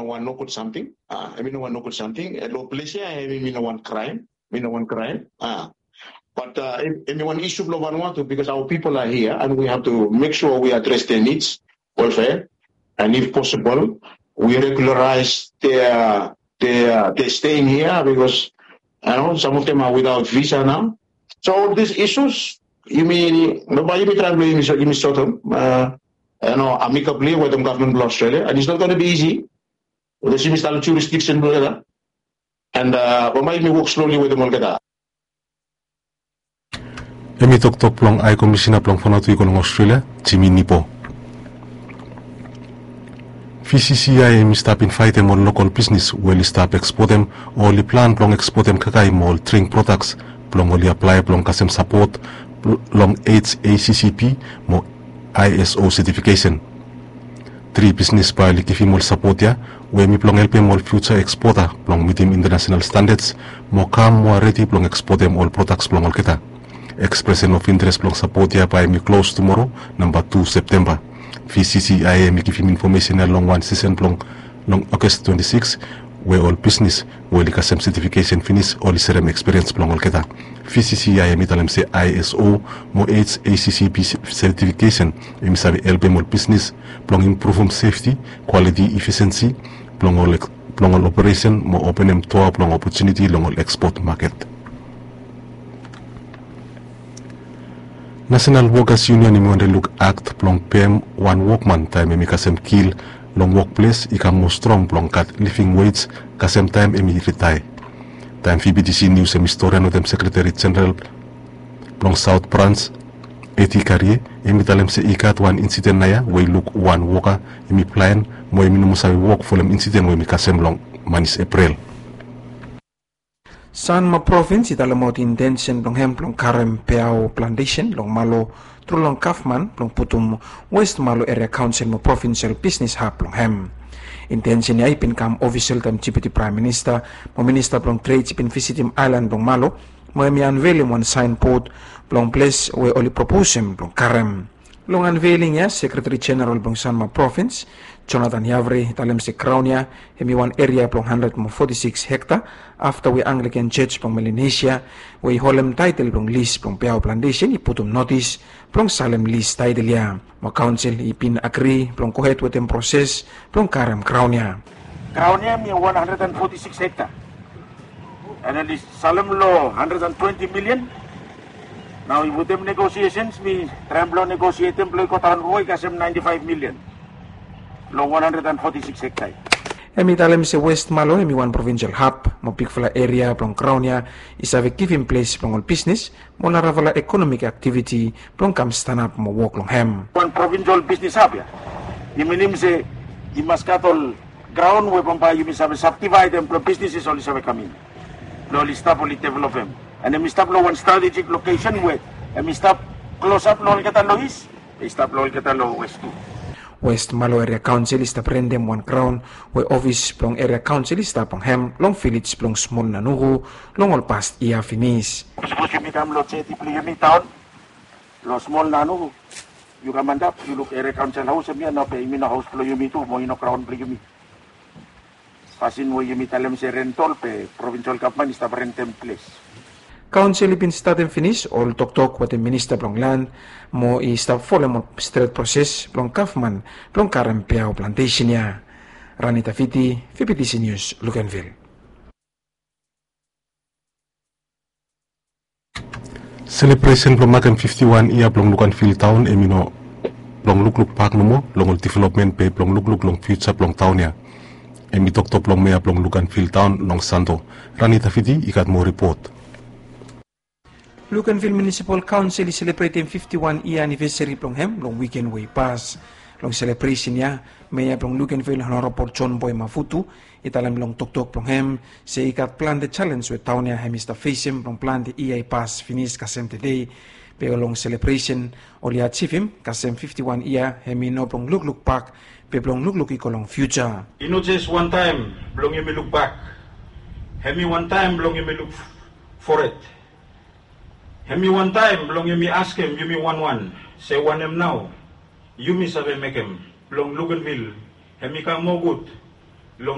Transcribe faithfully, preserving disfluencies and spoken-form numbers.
wan nogud samting. Hemi no wan nogud samting. Long ples ya hemi no wan kraem. Hemi no wan kraem. Bat hemi wan isu blong Vanuatu, because our people are here and we have to make sure we address their needs, welfare, and if possible, we regularize their their their staying here, because you know, some of them are without visa now. So all these issues, yumi, bambae yumi traem blong yumi sotem, you know, amicably wetem gavman blong Australia, and it's not going to be easy. Because yumi stap long jurisdiction blong olgeta, and bambae yumi wok slowly wetem olgeta. Hemi toktok blong Hae Komisina blong Vanuatu i go long Australia, Jimmy Nipo. VCCI hemi stap invaetem ol lokol bisnis we oli stap eksportem o oli plan blong eksportem kakae mo ol dring prodaks blong oli aplae blong kasem sapot long HACCP mo ISO setifikesen. Tri bisnis bae oli givim ol sapot ya we hemi blong helpem ol fiuja ekspota blong mitim intanasenal standads mo kam moa redi blong eksportem ol prodaks blong olgeta. Ekspresen of interes blong sapot ya bae hemi klos tumoro, namba tu Septemba. VCCI hemi givim infomesen ya long wan sesen blong long August twenty-six, we ol bisnis we oli kasem setifikesen finis oli serem ekspiriens blong olgeta. VCCI hemi talem se ISO mo HACCP setifikesen hemi save helpem ol bisnis blong impruvum sefti, kwaliti, efisiensi blong ol blong ol operesen mo openem doa blong opotuniti long ol ekspot maket. Nasenal Wokas Yunion hemi wante luk akt blong pem wan wokman taem hemi kasem kil long wokples i kam moa strong blong gat living wage kasem taem hemi ritaea. Taem VBTC Nius hemi storian wetem Sekreteri Jeneral blong Saot Brans, Eti Karie, hemi talem se i gat wan insiden naoia we i luk wan woka hemi blaen mo hemi no moa save wok folem insiden we hemi kasem long manis Eprel. Sanma Provins i talemaot intensen blong hem blong karem peao plantesen long Malo tru long gavman blong putum West Malo Eria Kaonsel mo provinsel bisnis hab blong hem. Intensen ya i bin kam ofisel taem Deputi Praem Minista mo Minista blong Trade i bin visitim aelan blong Malo mo hemi anvelim wan saenbod blong ples we oli proposem blong karem. Long anveling ya, Sekreteri Jeneral blong Sanma Provins, Jonathan Yavri, i talem se graon ya hemi wan eria blong handred mo foti sikis hekta, afta we Anglikan Jos blong Melanesia we i holem taetel blong lis blong peao plantesen i putum notis blong salem lis taetel ya. Mo kaonsel i bin agri blong gohed wetem proses blong karem graon ya. Graon ya hemi wan handred and foti sikis hekta. And oli salem long handred and twenti milian. Nao wetem negosiesens mi traem blong negosietem blong i go daon mo i kasem naenti faef milian long wan handred and foti sikis hekta. Hemi talem se West Malo hemi wan provinsel hab mo bigfala eria blong graon ya i save givim ples blong ol bisnis mo narafala ekonomik aktiviti blong kam stanap mo wok long hem. Wan provinsel bisnis hab ya i minim se i mas gat ol graon we bambae yumi save sabdivaedem blong bisnises oli save kam in blong oli stap oli developem. And hemi stap long wan stratejik lokesen we hemi stap klosap long olgeta long is, i stap long olgeta long wes tu. West Malo Eria Kaonsel i stap rentem wan graon we ofis blong Eria Kaonsel i stap long hem long vilej blong Smol Nanuku long ol past yia finis. Sapos yumi kam long jeti blong yumi daon long Smol Nanuku, yu kam antap yu luk Eria Kaonsel haos hemia nao be hemi no haos blong yumi tu mo i no graon blong yumi. Fasin we yumi talem se rentol be provinsel gavman i stap rentem ples. Kaonsel i bin statem finis ol toktok wetem minista blong lan mo i stap folem ol stret proses blong gavman blong karem peao plantesen ya. Rani Tafiti, VBTC Nius, Luganville. Selebresen blong makem fifti wan yia blong Luganville taon hemi no blong lukluk bak nomo long ol developmen be blong lukluk long fiuja blong taon ya. Hemi toktok blong mea blong Luganville taon long Santo. Rani Tafiti i gat moa ripot. Luganville Munisipal Kaonsel i selebretem fifti wan yia anivesari blong hem long wiken we i pas. Long selebresen ya, mea blong Luganville Honorabol John Boy Mavutu i talem long toktok blong hem se i gat plante jalens we taon ya hemi stap fesem blong plante yia i pas finis kasem tede. Be long selebresen oli ajivim kasem fifti wan yia hemi no blong lukluk bak be blong lukluk i go long fiuja. I no jes wantaem blong yumi lukbak. Hemi wantaem blong yumi luk fored. Hemi wantaem blong yumi askem yumi wanwan se wanem nao yumi save mekem blong Luganville hemi kam moa gud